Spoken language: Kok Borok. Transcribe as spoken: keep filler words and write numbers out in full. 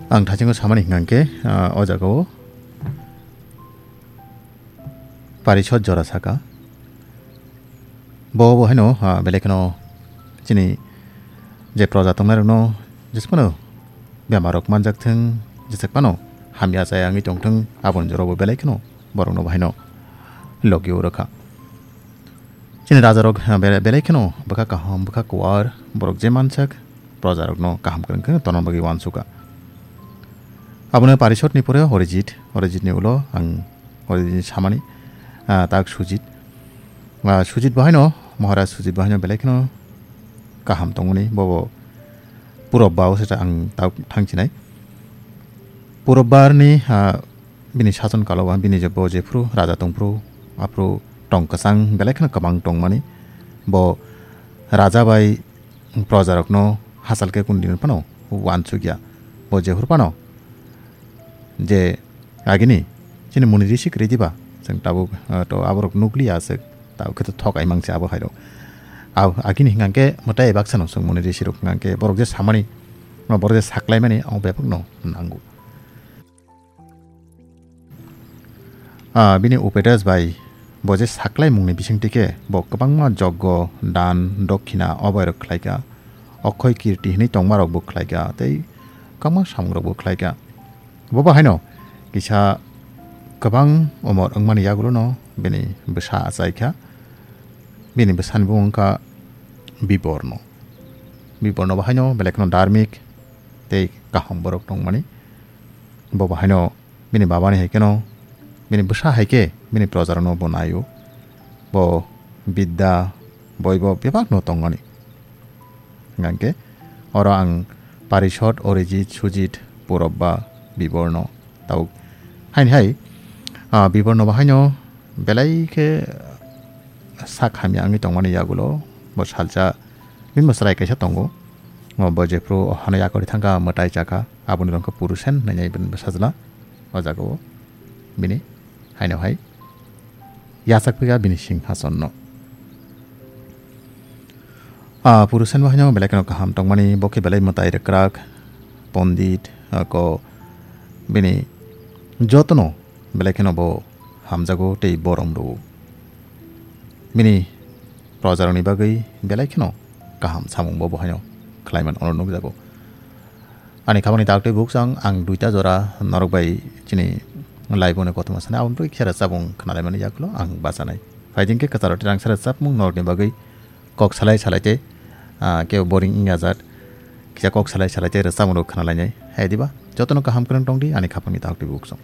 Ang thasingo samani hingkha khe, ah, o jagao parisot jora saka. Bo bo haino, ah, belai kheno chini je proja tongnairokno jesphano bemarrok manjak thung, jesek phano hamya chaya wngwi tong thung, aboni jorao bo belai kheno borokno bo haino logi o rwkha. Chini rajarok, ah, bele-, belai kheno bwkha kaham, bwkha kuwar, borok je mansak, projarokno kaham kwrwng khe tongna bagwi uansukha. Abono parisotni pore Orijit, Orijitni ulo ang Orijitni samani, ah, tak Sujit. Ah, Sujit bo haino, Maharaj Sujit bo haino belai kheno kaham tongmani, bobo Purobba o se ang tak thangchinai. Purobbarni, ah, bini sason kalo ba bini je bo jephru raja tongphru, aphru tong kwchang belai kheno kwbang tongmani. Bo raja bai projarokno hachal khe kundini phano uansukya. Bo jephru phano je agini chini muni risi kwrwi diba, chwng tabuk, ah, to aborok nukliya aswk, tabuk khe to thok aimang se abo hairok. Ab-, agini hingkha khe mwtai baksa no chwng muni risi rok hingkha khe borok je samani, borok je saklaimani abo bebak no nango. Ah, bini upedas bai bo je saklaimungni bisingtwi khe bo kwbangma joggo, dan, dokhina, oboirok khlaikha, okhoi kirti hinwi tongmarokbo khlaikha tei kwbangma samungrokbo khlaikha. Bo bo haino kisa kwbang umor wngmani yagulono bini bwsa achaikha. Bini bwsani bumung wngkha Biborno. Biborno bo haino belai kheno dharmik tei kaham borok tongmani. Bo bo haino bini babani hai kheno, bini bwsa hai khe bini projarokno bo naio. Bo bidya, boibo bebakno tongmani. Hingkha khe oro ang Parisot, Orijit, Sujit, Purobba, Biborno tabuk. Haini hai, ah, Biborno bo haino belai khe sak hamya wngwi tongmani yagulo bo salsa bini bo chwrai kaisa tongo. O bo jephru o hano yakarwi thangkha mwtai chakha, aboni rong khe Purusen hwnwi bini bwsajla o jagao bini haino hai yachak phikha bini singhasonno. Ah, Purusen bo haino belai kheno kaham tongmani, bo khe belai mwtai rwkrak, pondit, ah, ko bini jotono belai kheno bo hamjago tei borom rwo. Bini projarokni bagwi belai kheno kaham samung bo bo haino khlaiman ono nukjago. Ani khabangni daktwi buksong ang duita jora norok bai chini live-o ni kothoma sanai, aboni bagwi kisa rwchapmung khnalaimani yagulo ang bachanai. Phaidi hwnkhe kwcharo tirangsa rwchapmung norokni bagwi kok salai salai tei, ah, kebo boring wngya jat. Kisa kok salai salai tei rwchapmung rok khnalainai. Hai diba? Jotono kaham kwrwng tongdi ani khabangni daktwi buksong.